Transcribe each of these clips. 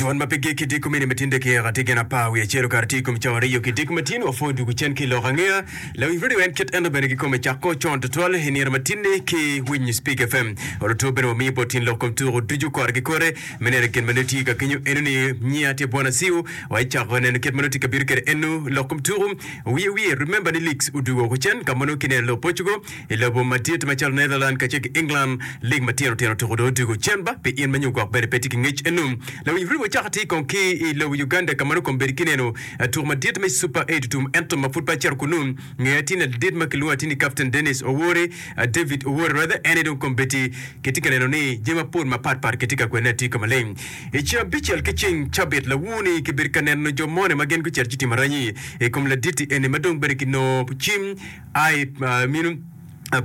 Dwon ma pe gik ki diko mini matin dakika tye gin apar wiye acel okato tye i kom cawa aryo ki diko matin wapwoyo dwogo cen ki i lok angeya. Lawiny radio en kit ento bene kikome cako con tutwal i nino matin-ni ki winyo Speak FM. Oluto bene wamiyo bot tyen lok kom tuko ducu kore ki kore me neno gin ma nongo tye ka kenyo eno ni nyiya tye Bwana Siu wa icako neno kit ma nongo tye ka bino kwede eno lok kom tuko wiye wiye remember ni leagues odwogo woko cen ka ma nongo kineno lobo Portugal I lobo madit macalo Netherland kacel ki England, lig matino tino tuko dong odwogo cen ba pi in ma nyo gwok bene pe tye ki ngec eno. Lawiny Riwo cako atir kong ki i lobo Uganda ka ma nongo kombeddi kineno tuko madit me Super Eight otum ento ma pud pe acito kunu ngeya atir ni ladit ma kilwongo atir ni Captain Dennis Owori, David Owori rather, en aye dong kombeddi kitye ka neno ni jami mapol mapat pat kitye ka kwene atir ka maleng. I ceng abicel ki ceng cabit lawur-ni kibedo ka neno jo moni ma gin gucito ci timo aranyi i kom ladit-ti eni ma dong bene kinongo cim I mino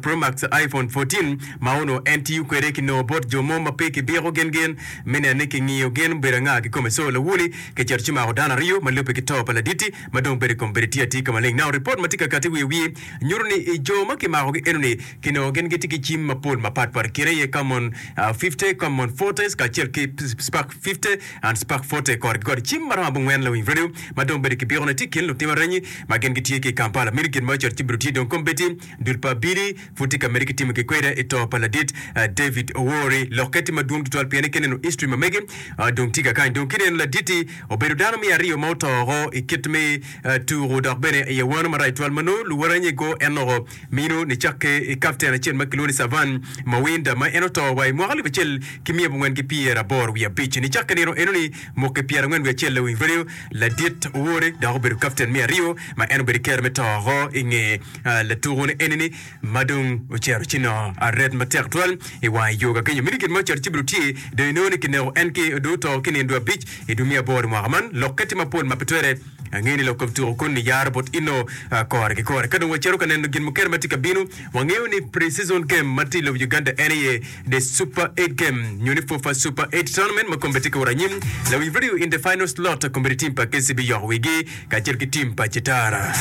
Pro Max iPhone 14 ma onongo en tiyo kwede kinongo bot jo mo ma pe kibiko gin gin me neno ni kingiyo gin obedo anga kikome. So lawoli kicito ci mako dano aryo ma lubbe ki to pa laditi ma dong bedo i kom bedo tye atir ka maleng. Now report ma tye ka kati wiye wiye nyuto ni i jo ma kimakogi enoni kinongo gin gitye ki cim mapol mapat pat kine aye Camon 50, Camon Fortes kacel ki Spark 50 and Spark Forte kore ki kore. Cim maromo abongwen lawiny radio ma dong bedo kibikone tye i kin lutim aranyi ma gin gitye ki i Kampala. Meno gin ma ocito ci obedo tye dong kombeddi dul pa abili pud tye ka medde ki timo ki kweda i to pa ladit David Owori. Lokke tye madwong tutwal pien ka ineno history ma mege dong tye kakany. Dong ka ineno ladit-ti obedo dano me aryo ma oto oko i kit me tuku dok bene i awano marac twal ma nongo luwote go en oko mino nicakke i kapten acel ma kilwongo ni Savan Mawinda ma en oto wa i mwaka alip acel ki miya abongwen ki 85 nicakke nino enoni mwaki 41 lawiny radio Ladit Owore dok obedo kapten me aryo ma en obedo ki kero me to oko i nge latuko ni enini ma dong ocito ci nongo aret matek twal i wang yo ka kenyo. Meno gin ma ocito ci obedo tye dong inongo ni kineko en ki dong oto ki nino dwe abic i dwe me aboro i mwaka man. Lokke tye mapol ma pe twere ange ni lok kom tuko kun niyaro bot ino kore ki kore. Ka dong wacito ka neno gin mukene ma tye ka bino, wangeyo ni pre-season game ma tye i lobo Uganda en aye The Super Eight Game nyo ni FUFA Super Eight Tournament ma kombeddi tye ka wot anyim. Lawiny Radio in the final slot kombeddi team pa KCB yoko wigi kacel ki team pa Citara.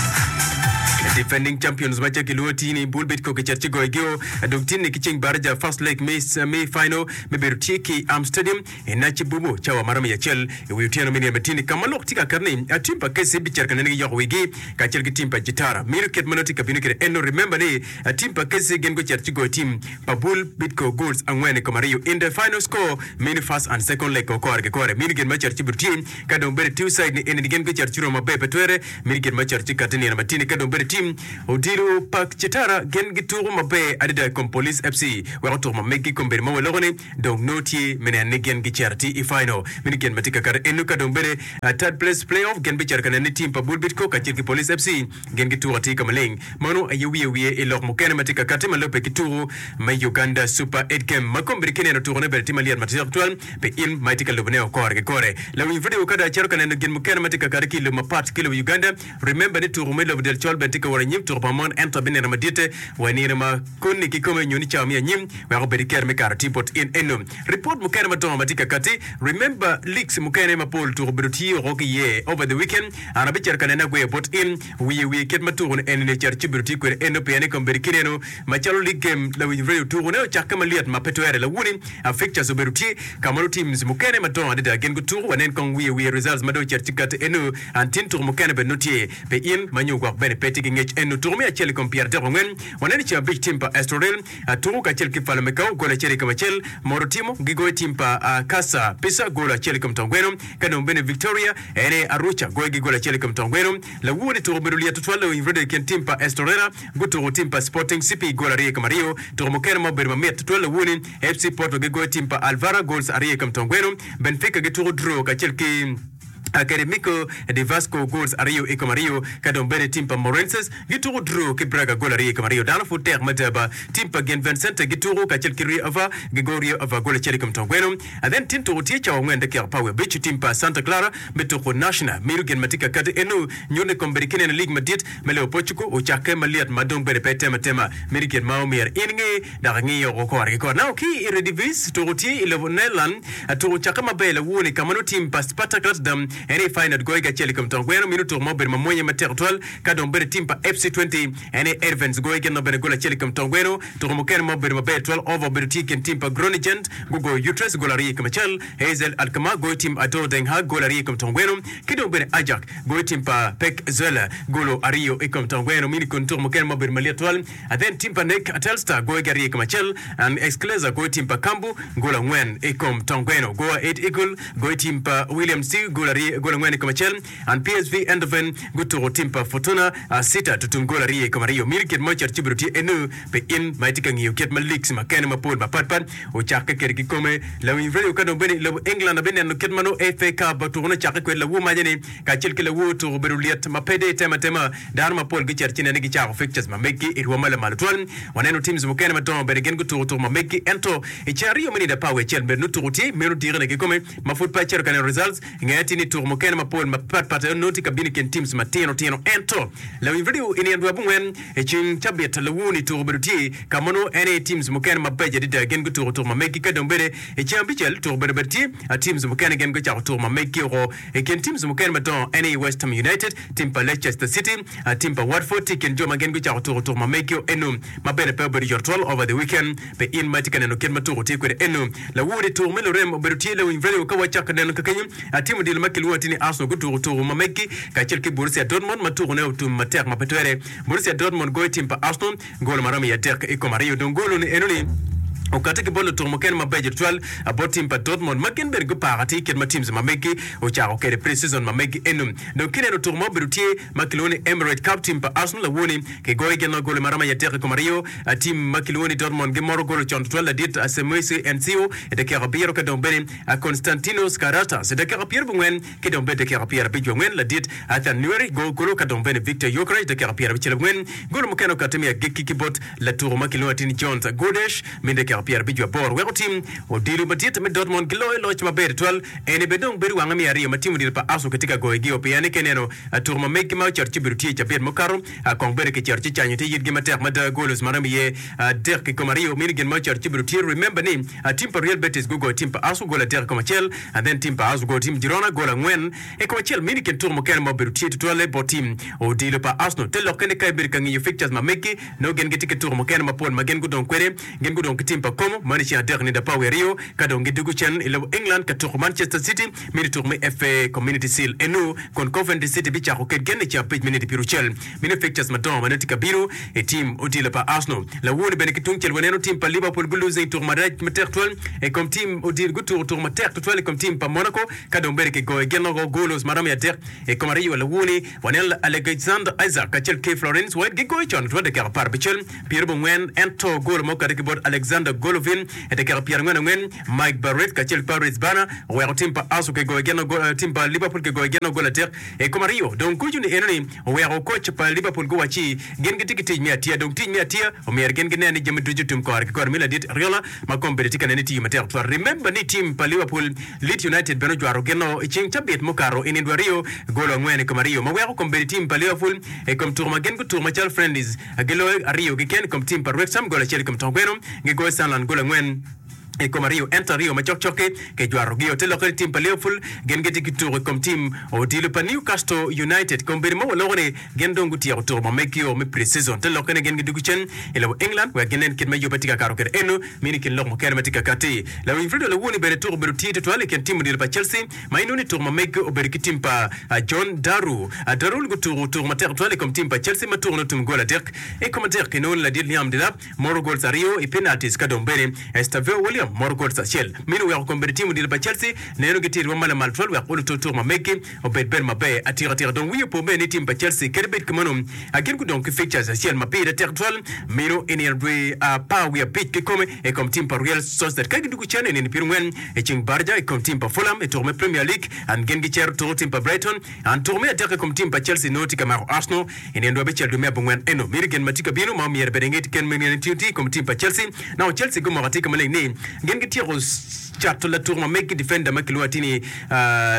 Defending champions ma ca kilwongo tye ni Bull Bidco kicito ci goyo gio dong tinni ki ceng baraja first leg me me final me bedo tye ki Am Stadium i Nakibubu cawa maromo i acel i wi otyeno me nino ma tinni ka ma lok tye ka kato ni team pa KCB cito ka nene giyoko wigi kacel ki team pa Citara. Meno kit ma nongo tye ka bino kwede eno remember ni team pa KCB gin gucito ci goyo team pa bul Bidco goals angwen i kom aryo in the final score mini first and second leg ko kore ki kore mini gin ma cito ci bedo tye ka dong bedo two side ni eni gin gucito ci romo maber pe twere mini gin ma cito ci kati nino matini ka dong bedo team odilo pa Citara gin gituko maber adada i kom Police FC weko tuko ma megi kom bedo ma waloko ni dong nongo tye me neno ni gin gicito ti i final mini gin ma tye ka kato eno ka dong bedo third place play off gin bicito ka neno ni team pa bul Bidco kacel ki Police FC Gin gituko atir ka maleng. Meno aye wiye wiye i lok mukene ma tye ka kati ma lubbe ki tuko me Uganda Super Eight Game ma kombeddi ki neno tukone bene tye malyet matek tutwal pi in ma itye ka lubone o kore ki kore. Lawiny vidio ka dong acito ka neno gin mukene ma tye ka kati ki i lobo mapat ki lobo Uganda. Remember ni tuko me lobo del col bene tye ka wot anyim tuko pa mon ento abineno maditte wa i nino ma koni kikome nyo ni cawa me anyim wek obed ki kero me kato atir bot in eno. Ripot mukene madongo ma tye ka kati Remember leagues mukene mapol tuko obedo tye oko ki iye over the weekend. An abicito ka nene agweyo bot in wiye wiye kit ma tuko ni eni ni ocito ci obedo tye kwede eno pien i kombeddi ki neno macalo league game lawiny radio tuko ne ocakke malyet ma pe twere lawuni a fixtures obedo tye ka ma nongo teams mukene madongo adada gin gutuko wanen kong wiye wiye results ma dong ocito ci kati eno an tin tuko mukene bene nongo tye pi in ma nyo gwok bene pe tye ki ngec eno tuko me acel i kom 34 waneno ceng abic team pa Estoril tuko kacel ki Falmecao gol acel i kom acel Moro timo gigoyo team pa Casa Pisa gol acel i kom Tongweno Ka dong bene Victoria en aye Aruca goyo gi gol acel i kom tong gweno. Lawur ni tuko obedo lyet tutwal lawiny radio i kin tim pa Estorera gutuko tim pa Sporting CP gol aryo i kom aryo. Tuko mukene ma obedo mamit tutwal lawur ni FC Porto gigoyo tim pa Alvara goals aryo i kom tong gweno. Benfica gituko draw kacel ki Academico de Vasco goals aryo i kom aryo. Ka dong bene tim pa Morenses gituko draw ki Braga gol aryo i kom aryo. Dano pud tek mada ba. Tim pa Gin Vincente gituko kacel ki Rio Ava gigoyo Rio Ava gol acel i kom tong gweno. Then tin tuko tye cawa angwen dakika apar wiye abic tim pa Santa Clara me tuko National mito gin ma tye ka kati eno nyuto ni kombeddi ki neno lig madit me lobo Portugal ocakke malyet ma dong bene pe tem atema mito gin ma omyero in inge dok ingi oko kore ki kore. Now ki i Eredivisie tuko tye i lobo Netherland tuko ocakke maber lawoni ka ma nongo tim pa Spartak Rotterdam. En aye Feyenoord goyo ki acel i kom tong gweno mino tuko ma obedo mamwonya matek tutwal ka dong bedo tim pa FC Twente en aye Ervens goyo gin bene gol acel i kom tong gweno. Tuko mukene ma obedo maber tutwal over obedo tye i kin tim pa Groningen gugoyo Utrecht gol aryo i kom acel, AZ Alkmaar goyo tim ADO Den Haag gol aryo i kom tong gweno ki dong bene Ajax goyo tim pa PEC Zwolle golo aryo i kom tong gweno. Mini kun tuko mukene ma obedo malit tutwal Athen tim pa NEC Telstar goyo ki aryo i kom acel and Excelsior goyo tim pa Cambu gol angwen i kom tong gweno. Go Ahead Eagle goyo tim pa William Stew gol aryo gol angwen i kom acel and PSV Eindhoven gutuko tim pa Fortuna Sittard tutum gol aryo i kom aryo. Miri kit ma ocito ci obedo tye enu pi in ma itye ka ngiyo kit ma leagues makene mapol mapat pat ocakke kwede kikome. Lawiny radio ka dong bene i lobo England abineno kit ma nongo FA Cup tukone ocakke kwede lawur maca ni kacel ki lawur tuko obedo lyet ma pe dong itemo atema. Dano mapol gicito ci nene gicako fixtures ma meggi i rwom ma lamal tutwal. Waneno teams mukene madongo bene gin gutuko tuko ma meggi ento i ceng aryo me nino apar wiye acel bene nongo tuko tye meno dikine kikome ma pud pe acito ka neno results. Nge atir ni tuko mukene mapol mapat pat nongo tye ka bino i kin teams matino tino ento lawiny radio i nino dwe abongwen i ceng cabit lawur-ni tuko obedo tye ka ma nongo en aye teams mukene mabeco adada gin gutuko tuko ma meggi ka dong bene i ceng abicel tuko obedo bene tye teams mukene gin gucako tuko ma meggi oko I kin teams mukene madongo en aye West Ham United, tim pa Leicester City, tim pa Watford tye i kin jo ma gin gucako tuko tuko ma megio eno ma bene pe obedo yot twal over the weekend. Pe in ma itye ka neno kit ma tuko tye kwede eno. Lawur i tuko me lurem obedo tye lawiny radio ka wacako neno kakenyo tim odilo ma kilwongo atir ni Arsenal gutuko tuko ma meggi kacel ki Borussia Dortmund ma tukone otum matek ma pe twere. Borussia Dortmund goyo tim pa Arsenal Golo ma romo i adek i kom aryo dong golo-ni enoni okati ki bot lutuku mukene mabeco tutwal bot tim pa Dortmund ma gin bene gupako atir kit ma teams ma meggi ocako kwede pre-season ma meggi eno. Dong kineno tuku ma obedo tye ma kilwongo ni Emirates Cup tim pa Arsenal awoni kigoyo gin ma golo ma romo i adek i kom aryo. Tim ma kilwongo ni Dortmund gimoto golo con tutwal ladit Semwesi Ensio i dakika abiro ka dong bene Konstantinos Karatas i dakika pyerabongwen Ki dong bed dakika pyerabic wangwen, ladit Arthur Newry go golo ka dong bene Victor Gyökeres dakika pyerabic abongwen. Golo mukene okati me agikki ki bot latuko ma kilwongo atir ni Jones Guedes me dakika pyerabic aboro weko tim odilo madit me Dortmund giloyo loc maber tutwal. Eni bene dong bedo wange me aryo ma tim odilo pa Arsenal kitye ka goyogi-o pien ni ka ineno tuko ma meggi ma ocito ci obedo tye i cabit mukato kong bene kicito ci canyo te yitgi matek mada golos ma romo iye adek i kom aryo mini gin ma ocito ci obedo tye. Remember ni tim pa Real Betis gugoyo tim pa Arsenal gol adek i kom acel. And then tim pa Arsenal ogoyo tim Girona gol angwen i kom acel. Mini kin tuko mukene ma obedo tye tutwalle bot tim odilo pa Arsenal. Te lokke ni ka ibedo ka ngiyo fixtures ma meggi, nongo gin gitye ki tuko mukene mapol ma gin gudong kwede. Gin gudong ki tim pa Como man i ceng adek nino apar wiye aryo ka dong gidugo cen i lobo England ka tuko Manchester City mini tuko me FA Community Shield eno kun Coventry City bicako ked gen i ceng abic me nino pyeraucel. Mini fixtures madongo ma nongo tye ka bino i tim odilo pa Arsenal. Lawor-ni bene ki tungcel waneno tim pa Liverpool gulosing tuko marac matek tutwal i kom tim odilo gutuko tuko matek tutwal i kom tim pa Monaco ka dong bene kigoyo gin loko golos ma romo i adek i kom aryo. Lawor-ni waneno Alexander Isak kacel ki Florence White gigoyo con tutwal dakika apar abicel pyerabongwen ento golo ma okati ki bot Alexander Golovin i dakika pyerangwen angwen Mike Barrett kacel ki Paris Bana oweko tim pa Arsenal kigoyo gin tim pa Liverpool kigoyo gin gol adek i kom aryo. Dong kucu ni enoni oweko koc pa Liverpool guwacci gin gitye ki tic me atiya. Dong tic me atiya omyero gin ginen ni jami ducu otum kore ki kore me ladit Ariola ma kombeddi tye ka nene tiyo matek tutwal. Remember ni tim pa Liverpool, Leeds United bene ojwato gin-o i ceng cabit mukato i nino aryo golo angwen i kom aryo ma weko kombeddi tim pa Liverpool i kom tuko ma gin gutuko macalo friendlies giloyo aryo keken i kom tim pa Wrexham gol acel i kom tong gweno gigoyo Sunderland gol angwen i kom aryo ento aryo ma cokcok-ki kijwatogi. Te lokke ni tim pa Liverpool gin gitye ki tuko i kom tim odilo pa Newcastle United. Kombeddi ma waloko ni gin dong gutyeko tuko ma megio me pre-season. Te lokke ni gin gidwogo cen i lobo England wek ginen kit ma yubbe tye ka kato kwede. Eno mini kin lok mukene ma tye ka katti. Lawiny Fredo Lawoni bene tuko obedo tye tutwal i kin tim odilo pa Chelsea ma inongo ni tuko ma meggi obedo ki tim pa John Daru. Darul gutuko tuko matek tutwal i kom tim pa Chelsea ma tukone otum gol adek i kom adek. Inongo ni ladit Liam Delap moro goals aryo i penalties ka dong bene Estaveo William moro goals acel. Meno oweko kombeddi tim odilo pa Chelsea neno gitye i rwom ma lamal twal wek oluto tuko ma meggi obed bedo maber atika tika. Dong wiye opo bene ni tim pa Chelsea kadi bed kumeno gin gudong ki fixtures acel ma pire tek twal meno i nino dwe apar wiye abic kikome i kom tim pa Real Sociedad ka gidwogo cen i nino pyerangwen i ceng Barca i kom tim pa Fulham i tuko me Premier League and gin gicero tuko tim pa Brighton and tuko me adek i kom tim pa Chelsea nongo tye ka mako Arsenal I nino dwe abicel dwe me abongwen eno, miti gin ma tye ka bino ma omyero bed inge ken me nino tye i kom tim pa Chelsea. Nongo Chelsea gumoko atika maleng ni. Gin gityeko cato latuk ma megi defender ma kilwongo atir ni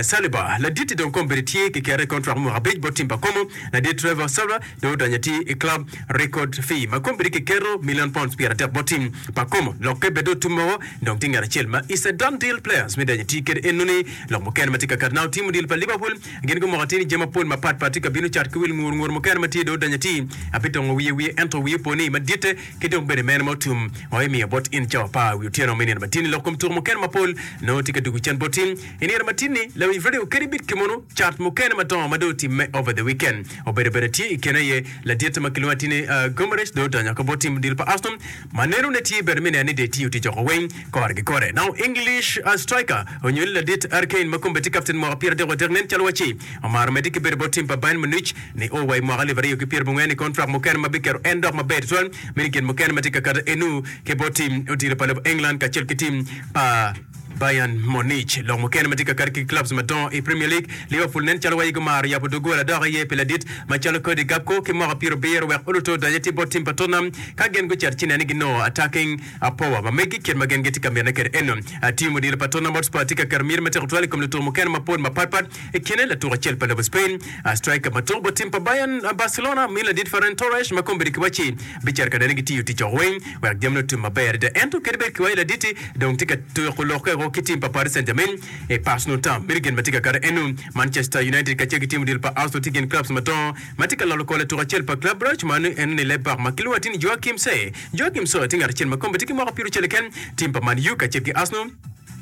Saliba. Ladit-ti dong kombeddi tye ki kete i kontrak me mwaka abic bot tim pa Como. Ladit Trevor Sarah dong odonyo atir i club record fee ma kombeddi kiketo million pounds 30 bot tim pa Como. Lokke bene dong otum woko dong tye ngat acel ma is a done deal players me donyo atir kede enoni. Lok mukene ma tye ka kati now tim odilo pa Liverpool gin gumoko atir ni jami mapol mapat pat tye ka bino cat ki wil ngur ngur mukene ma tye dong odonyo atir abitongo wiye wiye ento wiye opo ni maditte Ki dong bene mene ma otum ma imiyo bot in cawa apar wi otyeno me nino matin-ni. Lok kom tuko mukene mapol nongo tye ka dugo cen boti i nino matin-ni. Lawiny radio kadi bed kimono, cat mukene madongo ma dong otimme over the weekend obedo bene tye i kine aye laditte ma kilwongo atir ni Guimaraes dong odonyo ka bot tim odilo pa Arsenal ma nenone tye bene me neno ni dong etiyo tic oko weng kore ki kore. Now English striker onyo ni ladit Harry Kane ma kombe tye kapten mwaka 33 nen calo wacci omaro medde ki bedo bot tim pa Bayern Munich Ni o wa i mwaka alip aryo ki pyerabongwen i kontrak mukene ma biketo en dok maber tutwal meno gin mukene ma tye ka kato enu ki bot tim odilo pa lobo England kacel ki tim pa Bayern Munich. Lok mukene ma tye ka kato ki clubs madongo i Premier League, Liverpool nen calo wayi gumaro yabo doggola dok aye pi ladit macalo Cody Gakpo ki mwaka pyerabiro wek oluto odonye tye bot tim pa Tottenham ka gin gucito ci nen ni ginongo attacking power ma megi kit ma gin gitye ka mitine kwede eno. Tim odilo pa Tottenham Hotspur tye ka keto miti matek tutwal i kom lutuku mukene mapol mapatpat I kine, latuk acel pa lobo Spain, striker ma tuko bot tim pa Bayern, Barcelona, min ladit Ferran Torres ma kombeddi kiwacci bicito ka nene gitiyo tic oko weng wek jamine otum maber adada. Ento kadi bed kiwaco ladit-ti dong tye ka tuko lokke woko ki tim pa Paris Saint-Germain i personal term. Meno gin ma tye ka kato eno. Manchester United kacel ki tim odilo pa Arsenal tye gin clubs madongo ma tye ka lolo kor latuk acel pa Club Brugge ma en ni left back ma kilwongo atir ni Joachim Sey. Joachim Sey tye ngat acel ma kombeddi tye ki mwaka pyeraucel keken. Tim pa Man U kacel ki Arsenal.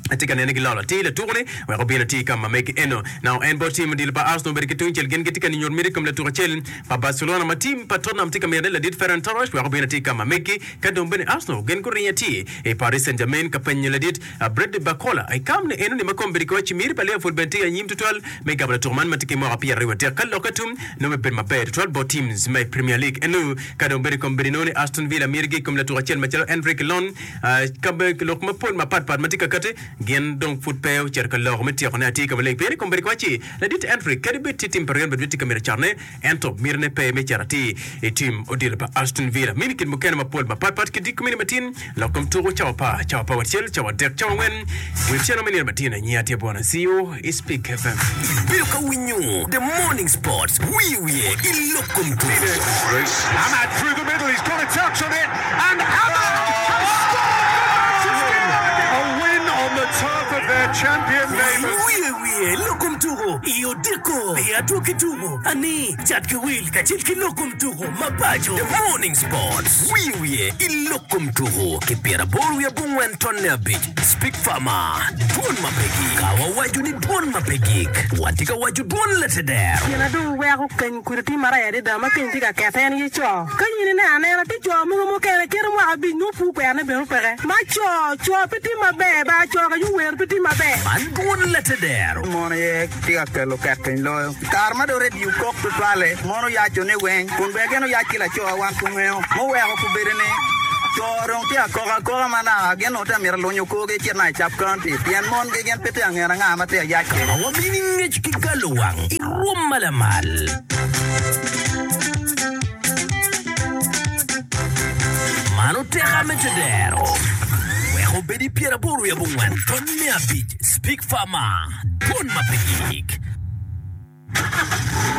Atye ka nene gilolo atir latuko-ni wek obin oti ka ma megi eno. Now en bot tim odilo pa Arsenal obedo ki tungcel gin gitye ka nyuto miti i kom latuko acel pa Barcelona ma tim pa Tottenham tye ka mito ni ladit Ferran Torres wek obin oti ka ma megi. Ka dong bene Arsenal gin guringo atir i Paris Saint-Germain ka penyo ladit Bradley Barcola i kam ni eno ni ma kombeddi kiwaco miti pa Liverpool bene tye anyim tutwal me gamo latuko man ma tye ki mwaka 23 ka lokke tum nongo bibedo maber tutwal bot teams me Premier League eno. Ka dong bene kombeddi nongo ni Aston Villa mitigi i kom latuko acel macalo Enrique Lon Ka lok mapol mapatpat ma tye ka kati, gin dong pud pe ocito ka loko me tyekone atir ka maleng. Pien i kombeddi kiwacci, Ladit Henry, kadi bed tye tim pa Real Madrid tye ka mito catone, ento mitine pe me cito atir i tim odilo pa Aston Villa. Mini kit mukene mapol mapatpat ki diko mini matin, lok kom tuko cawa apar, cawa apar wacel, cawa adek, cawa angwen, wi otyeno me nino matin. Anyia tye bwana CU i Speak FM. Ibedo ka winyo The Morning Sports wiye wiye i lok kom tuko. Amad through the middle, he's got a touch on it. And Amad has scored for Manchester United! A win on the turf of their champion neighbours. Wiye wiye lok kom tuko i odiko i adwogi tuko ani cat ki wil kacel ki lok kom tuko ma paco. The Morning Sports wiye wiye i lok kom tuko ki pyeraboro wiye abongwen tonne abic Speak Farmer dwon ma pe gik. Ka wawaco ni dwon ma pe gik, watye ka waco dwon lateder. Gin na dong weko keny kudi tye marac adada ma keny tye ka kete en aye co. Ka in ineno anena, tye co mogo mukene kite mwaka abic nongo pur kwerone bene peke. Ma co, co pe tye maber ba, co ka yuwer pe tye maber. Man dwon lateder. Mon aye tye ka kelo ket piny loyo. I kare ma dong redio kok tutwalle, mon oyaco ni weng, kun bene gin oyac ki laco wan pe wangeyo. Muweko kubedo ni co dong tye ka kok akoka ma naka gin onongo tye ka mito lunyo korgi ecit naka i Cap County pien mongi gin pe tye ka ngene anga ma tye ka yac kwede. Ma wamini ngec ki galo wang i rwom ma lamal. Man oteka me tedero wek obed i pyeraboro wiye abongwen tony me abic Speak Farmer, Dwon ma pe gik.